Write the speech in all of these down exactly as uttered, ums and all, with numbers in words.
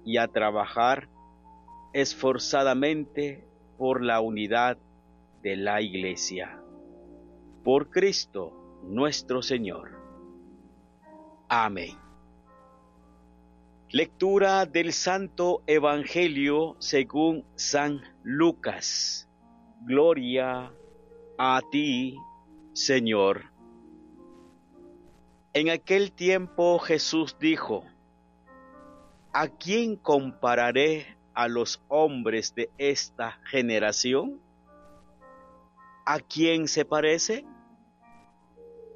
y a trabajar esforzadamente por la unidad de la Iglesia. Por Cristo nuestro Señor. Amén. Lectura del Santo Evangelio según San Lucas. Gloria a ti, Señor. En aquel tiempo Jesús dijo: ¿A quién compararé a los hombres de esta generación? ¿A quién se parecen?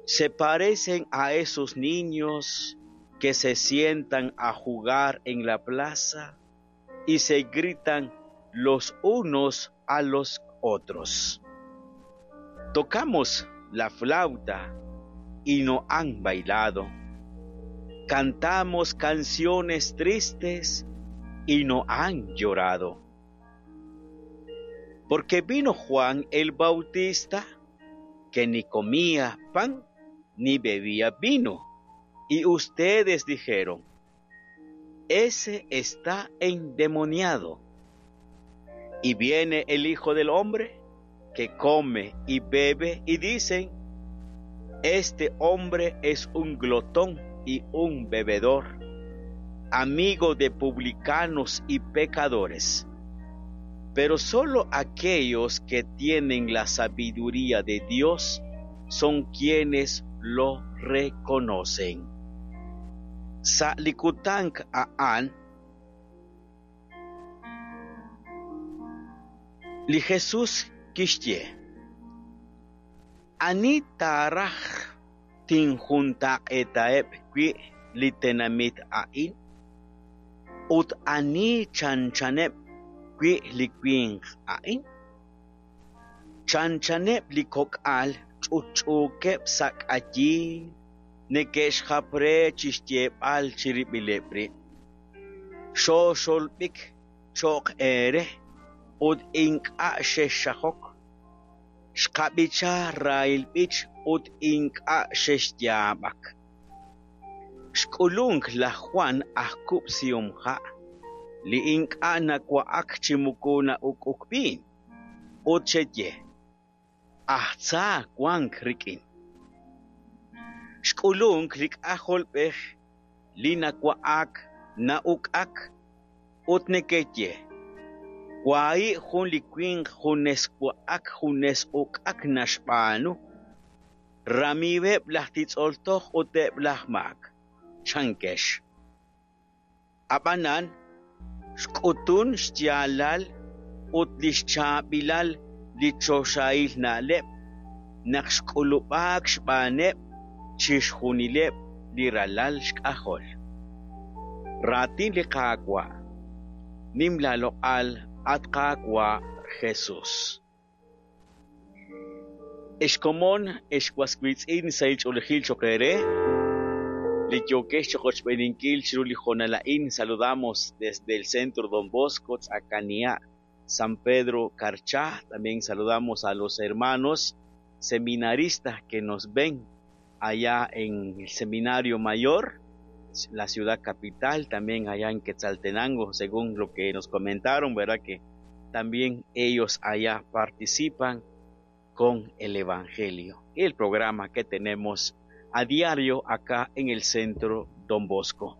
Se parecen a esos niños que se sientan a jugar en la plaza y se gritan los unos a los otros: Tocamos la flauta y no han bailado. Cantamos canciones tristes y no han llorado. Porque vino Juan el Bautista, que ni comía pan ni bebía vino, y ustedes dijeron: Ese está endemoniado. Y viene el Hijo del Hombre, que come y bebe, y dicen: Este hombre es un glotón y un bebedor, amigo de publicanos y pecadores. Pero solo aquellos que tienen la sabiduría de Dios son quienes lo reconocen. Sa li kutan a'an, li Jesús kixye: Ani taaraj tinjuntaq'eetaheb' wi' li tenamit a'in, ut ani chanchaneb' wi' li winq a'in? Chanchaneb' li kok'al ch'utch'uukeb' sa' k'ayiil, neke'xjap re chixyeeb'al chirib'ileb' rib': Xooxolb'ik cho'q eere ut ink'a' xexxajok, xqab'icha rahil b'ich ut ink'a' xexyaab'ak. Xk'ulunk laj Juan aj kub'sihom ha', li ink'a' nawa'ak chi moko na'uk'uk viin, ut xeye: Aj tza wank rik'in. Xk'ulunk li k'ajolb'ej li nawa'ak na'uk'ak, ut nekeye: Wahi' jun li winq junes wa'ak junes uk'ak naxb'aanu, ramiiweb' laj titz'ol toj ut eb' laj maak, chankex. Ab'anan xk'utun xyaalal ut li xchaab'ilal li choxahil na'leb' naq xk'ulub'aak xb'aaneb' chixjunileb' li ralal xk'ajol. Raatin li Qaawa'. Nim laaloq'al, at Qaawa' Jesús. Ex komon, ex waswiitz'in sa' ch'oolejil cho'q eere, li yookex choqochb'eeninkil chiru li hoonal a'in. Saludamos desde el Centro Don Bosco, Tz'akania, San Pedro Carchá. También saludamos a los hermanos seminaristas que nos ven allá en el Seminario Mayor, la ciudad capital, también allá en Quetzaltenango, según lo que nos comentaron, ¿verdad? Que también ellos allá participan con el Evangelio y el programa que tenemos a diario acá en el Centro Don Bosco.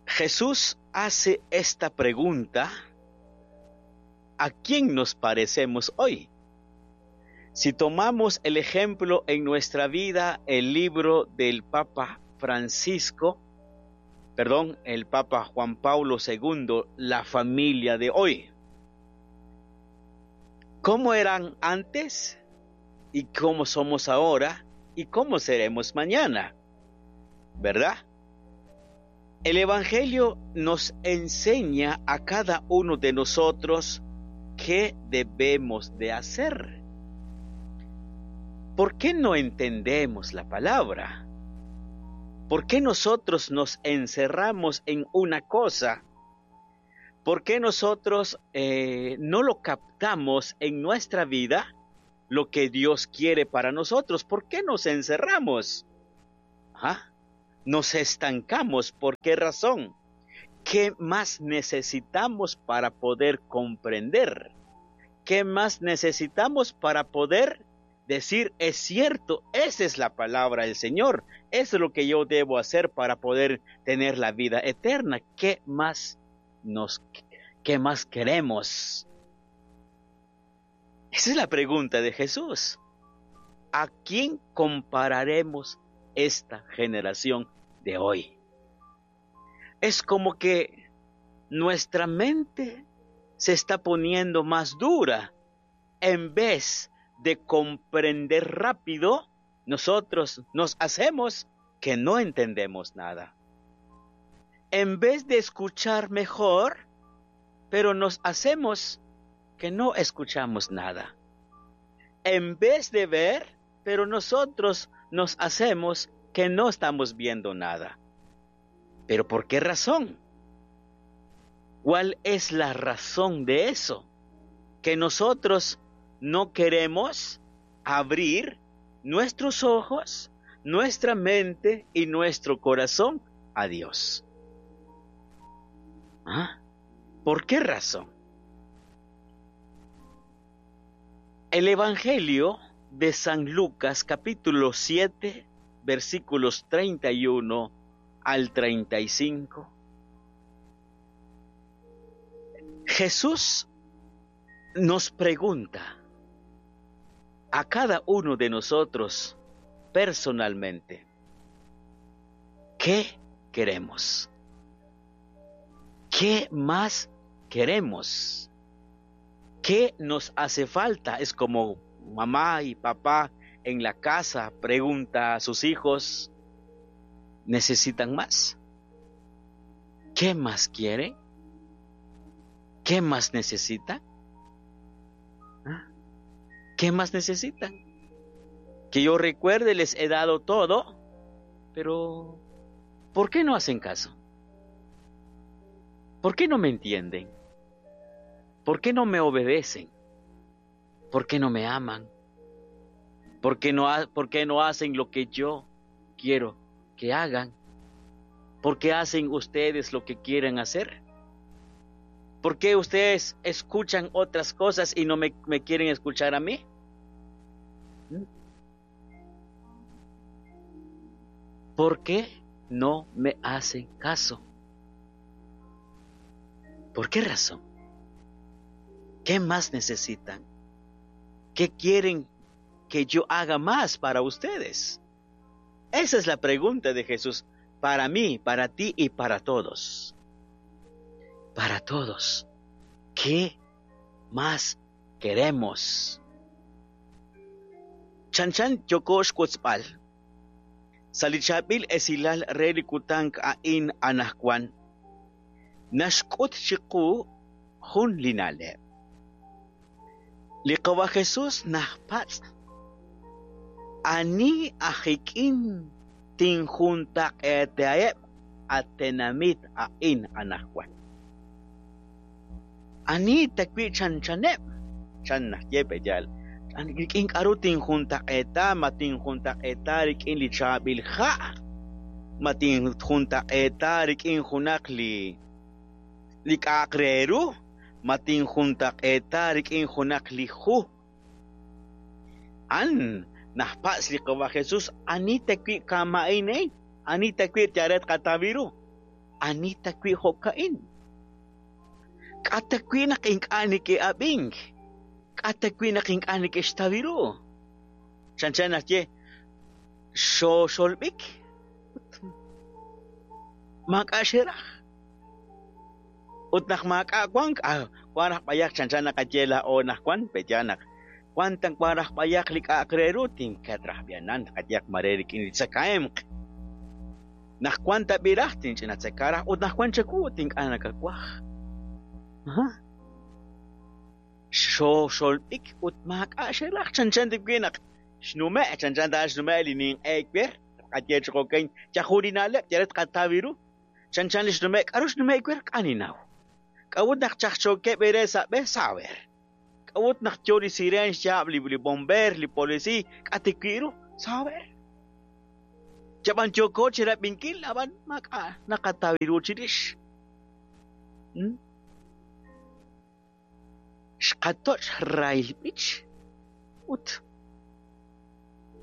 Jesús hace esta pregunta: ¿a quién nos parecemos hoy? Si tomamos el ejemplo en nuestra vida, el libro del Papa Francisco, perdón, el Papa Juan Pablo segundo, La familia de hoy. ¿Cómo eran antes? ¿Y cómo somos ahora? ¿Y cómo seremos mañana? ¿Verdad? El Evangelio nos enseña a cada uno de nosotros qué debemos de hacer. ¿Por qué no entendemos la palabra? ¿Por qué nosotros nos encerramos en una cosa? ¿Por qué nosotros eh, no lo captamos en nuestra vida lo que Dios quiere para nosotros? ¿Por qué nos encerramos? ¿Ah? Nos estancamos. ¿Por qué razón? ¿Qué más necesitamos para poder comprender? ¿Qué más necesitamos para poder decir, es cierto, esa es la palabra del Señor, eso es lo que yo debo hacer para poder tener la vida eterna? ¿Qué más nos, qué más queremos? Esa es la pregunta de Jesús. ¿A quién compararemos esta generación de hoy? Es como que nuestra mente se está poniendo más dura. En vez de comprender rápido, nosotros nos hacemos que no entendemos nada. En vez de escuchar mejor, pero nos hacemos que no escuchamos nada. En vez de ver, pero nosotros nos hacemos que no estamos viendo nada. ¿Pero por qué razón? ¿Cuál es la razón de eso? Que nosotros no queremos abrir nuestros ojos, nuestra mente y nuestro corazón a Dios. ¿Ah? ¿Por qué razón? El Evangelio de San Lucas, capítulo siete, versículos treinta y uno al treinta y cinco. Jesús nos pregunta a cada uno de nosotros personalmente, ¿qué queremos? ¿Qué más queremos? ¿Qué nos hace falta? Es como mamá y papá en la casa pregunta a sus hijos, ¿necesitan más? ¿Qué más quieren? ¿Qué más necesitan? ¿Ah? ¿Qué más necesitan? Que yo recuerde, les he dado todo, pero ¿por qué no hacen caso? ¿Por qué no me entienden? ¿Por qué no me obedecen? ¿Por qué no me aman? ¿Por qué no, por qué no hacen lo que yo quiero que hagan? ¿Por qué hacen ustedes lo que quieren hacer? ¿Por qué ustedes escuchan otras cosas y no me, me quieren escuchar a mí? ¿Por qué no me hacen caso? ¿Por qué razón? ¿Qué más necesitan? ¿Qué quieren que yo haga más para ustedes? Esa es la pregunta de Jesús para mí, para ti y para todos. Para todos. ¿Qué más queremos? Chanchan yokosh kutzpal. Salichabil esilal relikutank ain anahkwan. Nashkut chiku jun linale. Liqawa Jesús nahpatz. Ani ajikin tinjunta eteaeb atenamit ain anahkwan. Ani takwi chanchaneb. Chan nahyepe yal. Rikin k'aru tinjuntaq'eta, ma tinjuntaq'eta rik'in li chaab'il ja', ma tinjuntaq'eta rik'in junaq li li k'a'aq re ru, ma tinjuntaq'eta rik'in junaq li ju. An najpatz li qawa Jesús, ani takwi kama'in eh, ani takwi tiaret qatabiru, ani takwi jo'ka'in. K'atakwi naq ink'a' niki'ab'ink. K'atakwi naq ink'a' nik'ixtabiru. Chanchan najye xoxolb'ik maak'a' xeraj. Ut naq maak'a' wank, ah, wan raj b'ayaq chanchan naqaye la'o naq wan, peya naq wan tan wan raj b'ayaq li k'a'aq re ru tinkat raj b'yanan qayaq mare rik'in li tzakaemq. Naq wan tab'iraj tinch'ina tzakaraj ut naq wan chaku tink'a' nakawaj. Aha. Xoxolb'ik ut maak'a' xeraj chanchan tikwi naq xnume' chanchan ta xnume' li ninq'eek b'er qaye choqokeñ chajurinaleb' yaret qatabiru chanchan li xnume' k'aru xnume' kwer k'aninaw k'awut naq chajchokeb' ere sa' b'e saber k'awut naq yo li siren xyaab' li li bomber li polisi k'atikwiru saber Yab'an yooko chirab'inkil, ab'an maak'a' naqataw ru chirix. Xqatoch' rahil b'ich ut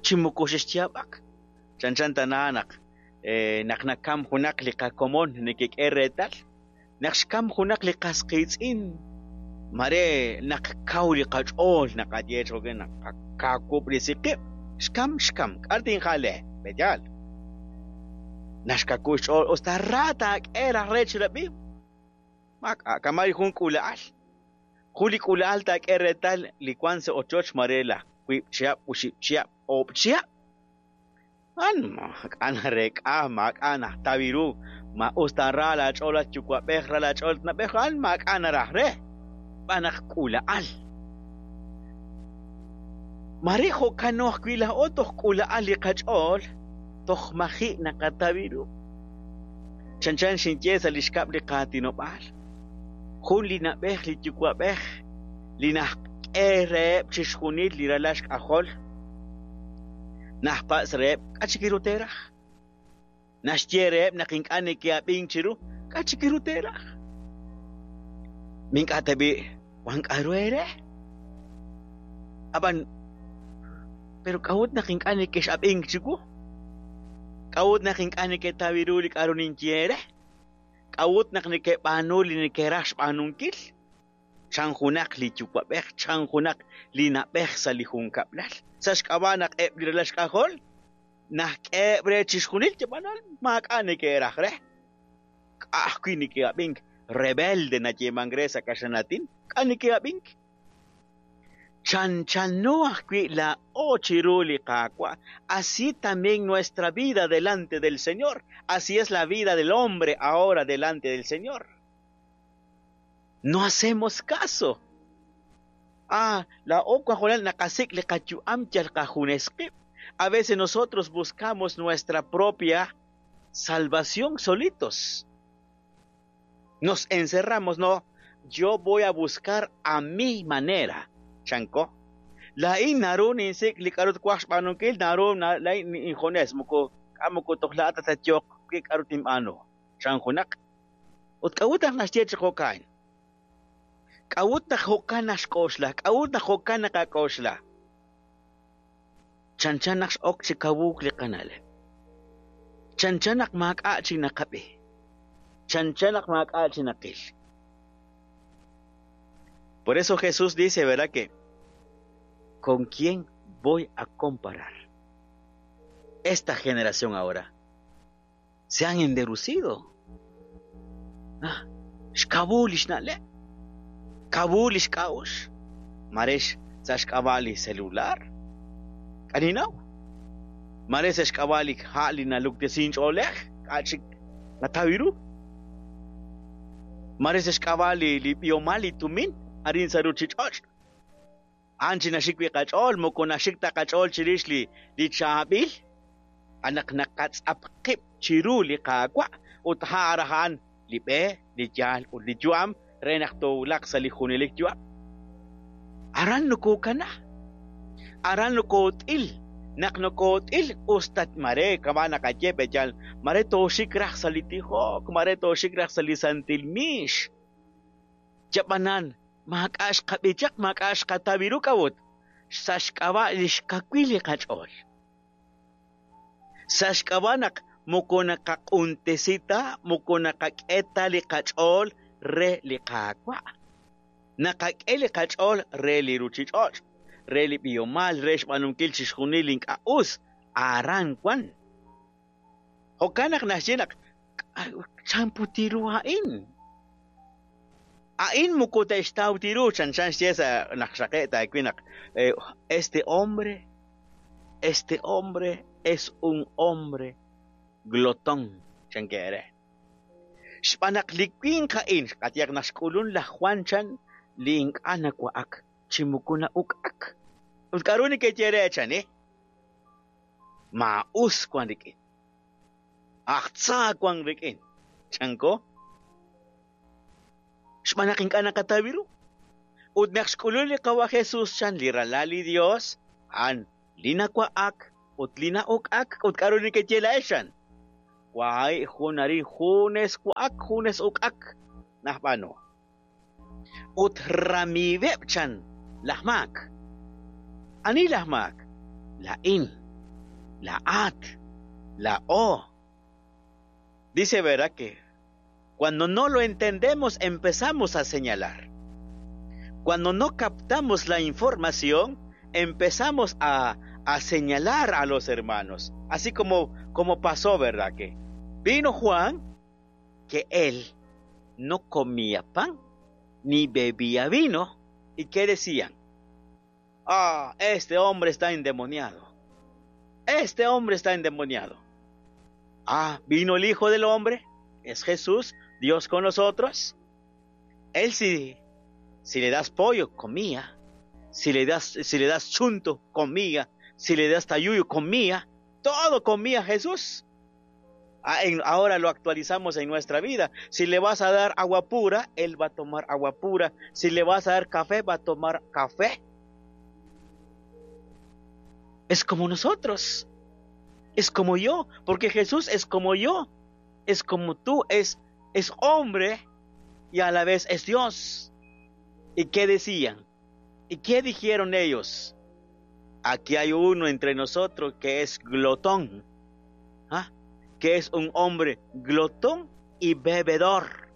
chi moko xexyaab'ak. Chanchan tana naq naq nakam junaq li qakomon nekek'e reetal, naq xkam junaq li qas qiitz'in, mare naq kaw li qach'ool naqaye cho'ke naq qakawub'resi qib', xkam xkam, k'ar tinjale, b'eyal. Naxkaku xch'ool usta ra taak'e raj re chirab'i, maak'a' kamari jun k'ula'al. Jun li k'ula'al taak'e reetal li wan sa' ochoch mare laj wiib' chihab', oxib' chihab', oob' chihab'. An maak'a' narek'a, maak'a' najtaw ru, ma usta ra laach'ool at yuwa'b'ej, ra laach'ool at na'b'ej, an maak'a' naraj re, b'an naq k'ula'al. Mare jo'kano ajwi' laa'o toj k'ula'al li qach'ool, toj maji' naqataw ru. Chanchan xinye sa' li xkab' li qaatinob'aal. Jun li na'b'ej li yuwa'b'ej li najk'e reheb' chixjunil li ralal xk'ajol, najpatz' reheb' k'a' chik ru teeraj. Naxye reheb' naq ink'a' neke'ab'ink chiru, k'a' chik ru teeraj. Mink'a' tab'i' wan k'a'ru eere. Ab'an, pero k'a'ut naq ink'a' neke'xab'ink chiwu? K'a'ut naq ink'a' neke'taw ru li k'a'ru ninye eere? K'a'ut naq neke'b'aanu li neke'raj xb'aanunkil? Chan junaq li yuwa'b'ej, chan junaq li na'b'ej sa' li junkab'lal. Sa' xk'ab'a' naq eb' li ralal xk'ajol, najk'eeb' re chixjunil yab'anal maak'a' neke'raj re. K'a' ajwi' neke'ab'ink, rebelde nayeemank re sa' kaxlanatin, k'a' neke'ab'ink. Chanchano ajwi' laa'o chiru li Qaawa'. Así también nuestra vida delante del Señor. Así es la vida del hombre ahora delante del Señor. No hacemos caso. Ah, laa'o wanjonal naqasik' li qayu'am yal qajunes qib'. A veces nosotros buscamos nuestra propia salvación solitos. Nos encerramos, no, yo voy a buscar a mi manera. Chanko. Lain naru ninsik li k'a'ru twaj xb'aanunkil, naru lain injunes moko k'a moko toj laa'at tatyoq ki k'a'ru tinb'aanu. Chan junaq. Ut k'a'ut naq naxye chi jo'kan? K'a'ut naq jo'kan naxk'oxla? K'a'ut naq jo'kan naqak'oxla? Chanchan naq x'ok chi kawuk li qana'leb'. Chanchan naq maak'a' chi naqab'i. Chanchan naq maak'a' chi naqil. Por eso Jesús dice, ¿verdad? Que ¿con quién voy a comparar? Esta generación ahora se han enderucido. Ah, xkabul xna'leb', kabul xk'a'ux, marex sa' xk'ab'a' li celular. K'aninaw. Mare sa' xk'ab'a' li ha' li naluktesin ch'oolej, k'a' chik nataw ru. Mare sa' xk'ab'a' li li b'ihomal li tumin arin sa' ruchich'och'. An chi naxik wi' qach'ool, moko naxik ta qach'ool chirix li li chaab'il, anaq naqatz'ap qib' chiru li Qaawa' ut ha'an li b'e, li yaal ut li yu'am re naq toowulaq sa' li junelik yu'am. Aran nokokana, aran nokoot'il, naq nokoot'il usta mare kama' naqaye b'eyal, mare tooxik raj sa' li tijok, mare tooxik raj sa' li santil miix. Yab'anan, maak'a' xqab'i chaq, maak'a' xqataw ru k'a'ut, sa' xk'ab'a' li xkawil li qach'ool. Sa' xk'ab'a' naq moko naqaq'untesi ta, moko naqak'e ta li qach'ool re li Qaawa'. Naqak'e li qach'ool re li ruchich'och', re li b'ihomal, re xb'aanunkil chixjunil li ink'a' us, aran wan. Jo'kan naq naxye naq chan puti ru a'in. A'in moko te'xtaw tiru, chanchan xye sa' naq xaqe' taawil naq este hombre, este hombre es un hombre glotón, chan kere. Xb'aan naq li winq a'in, xqatiyaq naq xk'ulun laj Juan chan li ink'a' nawa'ak chi moko na'uk'ak. Ut k'a'ru nekeye re chan, eh? Maa'us wan rik'in. Aj tza wan rik'in. Chanko. Xb'aan naq ink'a' naqataw ru. Ut naq xk'ulun li Qawa' Jesús chan li ralal li Dios, a'an li nawa'ak, Ut li na'uk'ak ut k'aru nekeye laa'ex chan. Waay jun arin junes wa'ak junes uk'ak najb'aanu. Ut ramiiweb' chan laj maak. Ani laj maak? Laa'in, laa'at, laa'o. Dice, ¿verdad? Que cuando no lo entendemos empezamos a señalar. Cuando no captamos la información, empezamos a, a señalar a los hermanos. Así como, como pasó, ¿verdad? Que vino Juan, que él no comía pan ni bebía vino. ¿Y qué decían? Ah, este hombre está endemoniado. Este hombre está endemoniado. Ah, vino el Hijo del Hombre, es Jesús, Dios con nosotros. Él sí, si le das pollo, comía. Si le das, si le das chunto, comía. Si le das tayuyo, comía. Todo comía Jesús. Ah, en, ahora lo actualizamos en nuestra vida. Si le vas a dar agua pura, él va a tomar agua pura. Si le vas a dar café, va a tomar café. Es como nosotros. Es como yo, porque Jesús es como yo, es como tú, es, es hombre y a la vez es Dios. ¿Y qué decían? ¿Y qué dijeron ellos? Aquí hay uno entre nosotros que es glotón, ¿ah? Que es un hombre glotón y bebedor,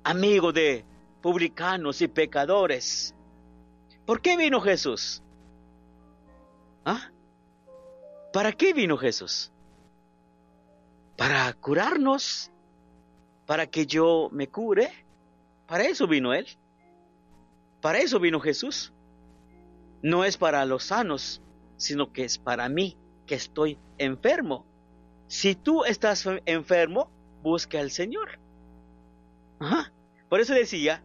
amigo de publicanos y pecadores. ¿Por qué vino Jesús? ¿Ah? ¿Para qué vino Jesús? Para curarnos, para que yo me cure. Para eso vino Él. Para eso vino Jesús. No es para los sanos, sino que es para mí, que estoy enfermo. Si tú estás enfermo, busca al Señor. Ajá. Por eso decía,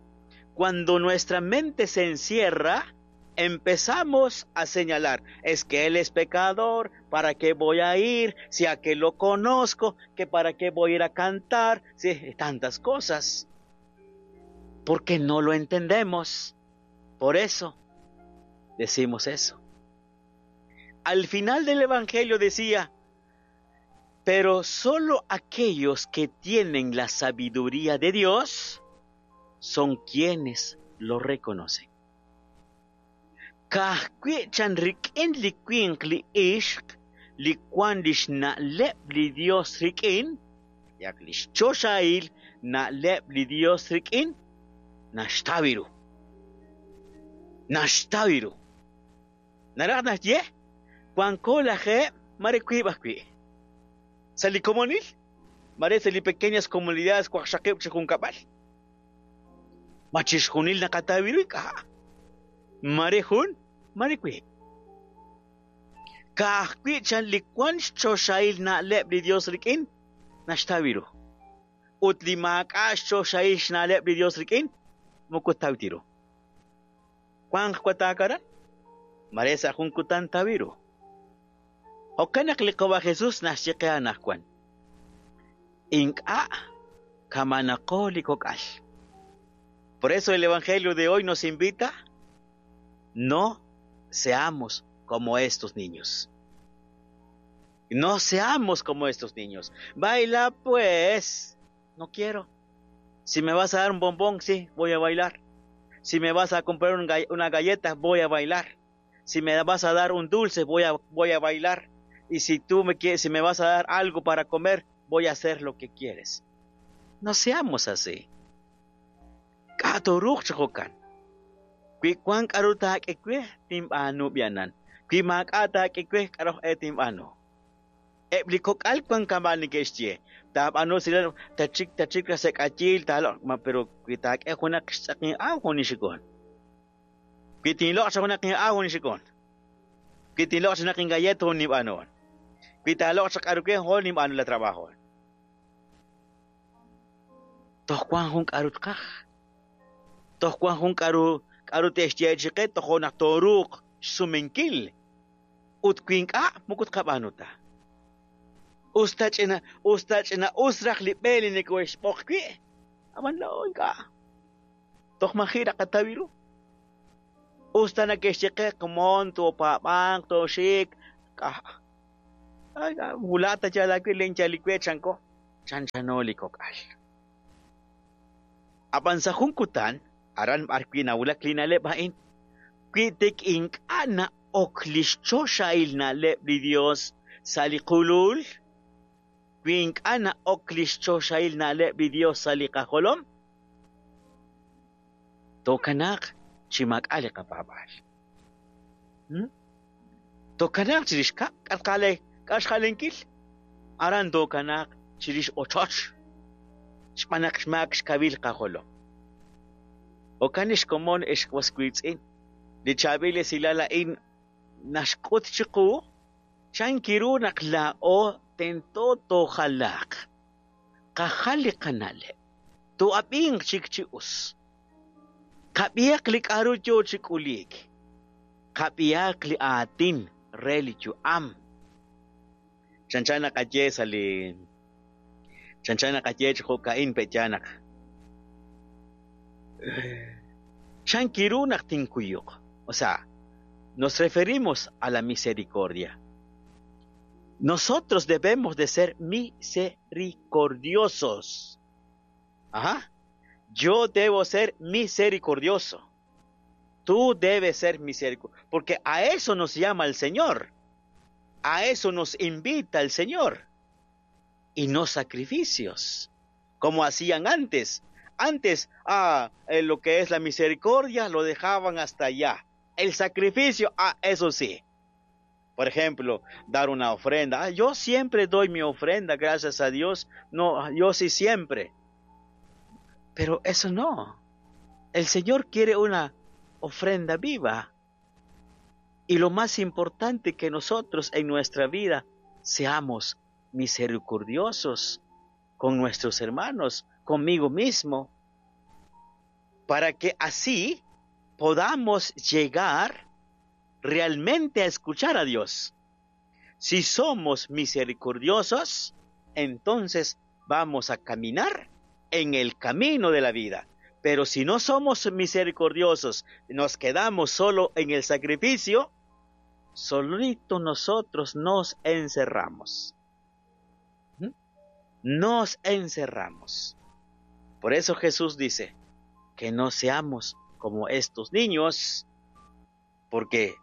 cuando nuestra mente se encierra, empezamos a señalar, es que él es pecador, ¿para qué voy a ir? Si a que lo conozco, que para qué voy a ir a cantar, sí, tantas cosas. Porque no lo entendemos. Por eso decimos eso. Al final del Evangelio decía, pero solo aquellos que tienen la sabiduría de Dios son quienes lo reconocen. Ka'ajwi' chan rik'in li winq li ixq li wan lix na'leb' li Dios rik'in, yak lix choxahil na'leb' li Dios rik'in, naxtaw ru. Naxtaw ru. Naraj naxye, wanko lajeeb' mare wiib' ajwi'. Sa' li komonil, mare sa' li pequeñas comunidades waqxaqib' chi junkab'al. Ma chixjunil naqataw ru ink'a'. Mare jun, mare wiib'. Ka'ajwi' chan li wan xchoxahil na'leb' li Dios rik'in, naxtaw ru. Ut li maak'a' xchoxahil xna'leb' li Dios rik'in, moko taw ru. Wanq watakaran, mare sa' jun kutan taw ru. Jo'kan naq li Qawa' Jesús naxye qe anaqwan. Ink'a' kamanaqo li kok'al. Por eso el Evangelio de hoy nos invita, no seamos como estos niños. No seamos como estos niños. Baila pues. No quiero. Si me vas a dar un bombón, sí, voy a bailar. Si me vas a comprar un gall- una galleta, voy a bailar. Si me vas a dar un dulce, voy a, voy a bailar. Y si tú me quieres, si me vas a dar algo para comer, voy a hacer lo que quieres. No seamos así. K'aturuq ch'ojokan. Wi wan k'aru taak'e tinb'aanu b'ianan. Wi maak'a' taak'e k'aru e tinb'aanu. Eb' li kok'al wan kama' neke'xye. Taab'aanu sila tachik tachik rasek'ayil taaloq ma pero wi taak'e junaq xtz'aqin aw junixikon. Wi tinloq cha junaq aw junixikon. Wi tinloq cha junaq galleta junib'aanu. Wi taaloq cha k'aru ke hol nib'aanu la trabajo. Toj wan jun k'aru tqaj. Toj wan jun k'aru k'aru te'xye chiqe toj naq toruuq xsumenkil. Ut wi ink'a' moko tqab'aanu ta. Usta ch'ina usta ch'ina us raj li b'e li neke'xb'oq wi', ab'an laa'o ink'a'. Toj maji' raqataw ru. Usta nake'xye qe komon toopaab'anq tooxik wula' ta yal aawe len yal li we chanko chanchano li kok'al. Ab'an sa' jun kutan aran b'ar wi' nawulak li na'leb' a'in wi tik ink'a' na'ok li xchoxahil na'leb' li Dios sa' li qulul, wi ink'a' na'ok li xchoxahil na'leb' li Dios sa' li qajolom, tookanaaq chi maak'a' li qapaab'aal. Tookanaaq chirix kab' k'atqale k'axjalenkil, aran tookanaaq chirix ochoch, xb'aan naq xmaak xkawil qajolom. Jo'kan xkomon ex was wiitz'in, li chaab'il esilal a'in naxk'ut chiqu chankiru naq laa'o tento toojalaaq, qajal li qana'leb', to'ab'inq chik chi us, qab'ihaq li k'a'ru yoo chi k'uliik, qab'ihaq li aatin re li yu'am. Chanchan naqaye sa' li chanchan naqaye chi jo'ka'in pe'ya naq chankiru naq tinkuyuq. O sea, nos referimos a la misericordia. Nosotros debemos de ser misericordiosos. Ajá. Yo debo ser misericordioso. Tú debes ser misericordioso. Porque a eso nos llama el Señor. A eso nos invita el Señor. Y no sacrificios, como hacían antes. Antes, ah, eh, lo que es la misericordia lo dejaban hasta allá. El sacrificio, ah, eso sí. Por ejemplo, dar una ofrenda. Ah, yo siempre doy mi ofrenda, gracias a Dios. No, yo sí siempre. Pero eso no. El Señor quiere una ofrenda viva. Y lo más importante, que nosotros en nuestra vida seamos misericordiosos con nuestros hermanos, conmigo mismo, para que así podamos llegar realmente a escuchar a Dios. Si somos misericordiosos, entonces vamos a caminar en el camino de la vida. Pero si no somos misericordiosos, nos quedamos solo en el sacrificio, solito nosotros nos encerramos. Nos encerramos. Por eso Jesús dice que no seamos como estos niños, porque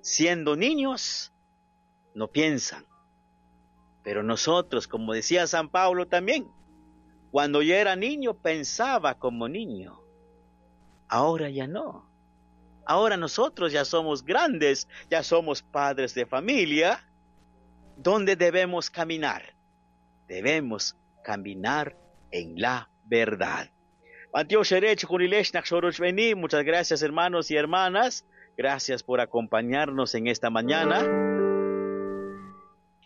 siendo niños no piensan. Pero nosotros, como decía San Pablo también, cuando yo era niño pensaba como niño. Ahora ya no. Ahora nosotros ya somos grandes, ya somos padres de familia. ¿Dónde debemos caminar? Debemos caminar en la verdad. Muchas gracias, hermanos y hermanas. Gracias por acompañarnos en esta mañana.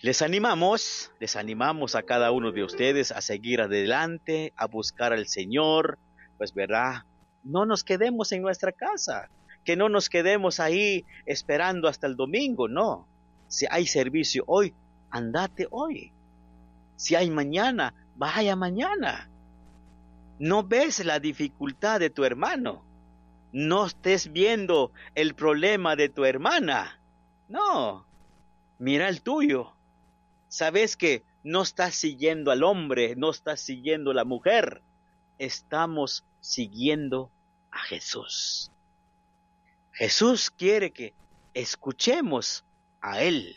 Les animamos, les animamos a cada uno de ustedes a seguir adelante, a buscar al Señor. Pues verdad, no nos quedemos en nuestra casa, que no nos quedemos ahí esperando hasta el domingo, no. Si hay servicio hoy, andate hoy. Si hay mañana, vaya mañana. No ves la dificultad de tu hermano. No estés viendo el problema de tu hermana. No, mira el tuyo. Sabes que no estás siguiendo al hombre, no estás siguiendo a la mujer. Estamos siguiendo a Jesús. Jesús quiere que escuchemos a Él.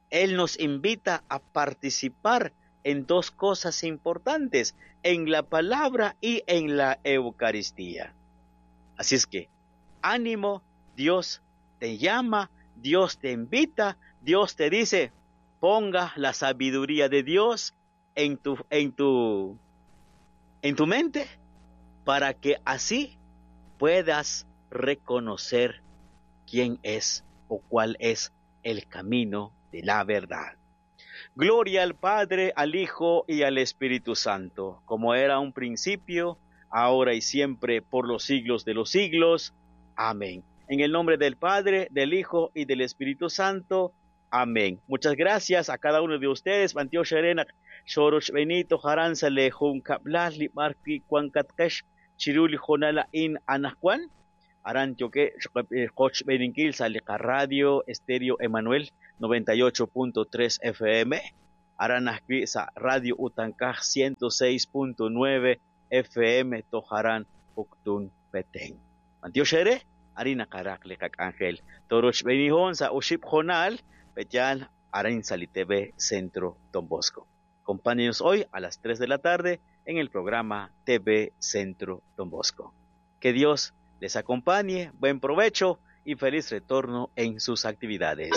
Él nos invita a participar en dos cosas importantes, en la palabra y en la Eucaristía. Así es que, ánimo, Dios te llama, Dios te invita, Dios te dice, ponga la sabiduría de Dios en tu, en tu, en tu mente, para que así puedas reconocer quién es o cuál es el camino de la verdad. Gloria al Padre, al Hijo y al Espíritu Santo, como era un principio, ahora y siempre, por los siglos de los siglos. Amén. En el nombre del Padre, del Hijo y del Espíritu Santo. Amén. Muchas gracias a cada uno de ustedes. Bantiox eere naq xorochb'eeni toj aran sa' lee junkablal li b'ar wi' wankatqex chiru li hoonal a'in anaqwan. Aran yoke qochb'eeninkil sa' li radio Estéreo Emanuel noventa y ocho punto tres F M. Aran ajwi' sa' Radio Utankaj ciento seis punto nueve F M tojaran Uktun Petén. B'antiox ere, arin naqaraq li qak'anjel. Torochb'eenihon sa' oxib' jonal, petyal arin sa' li T V Centro Don Bosco. Acompáñenos hoy a las tres de la tarde en el programa T V Centro Don Bosco. Que Dios les acompañe, buen provecho y feliz retorno en sus actividades.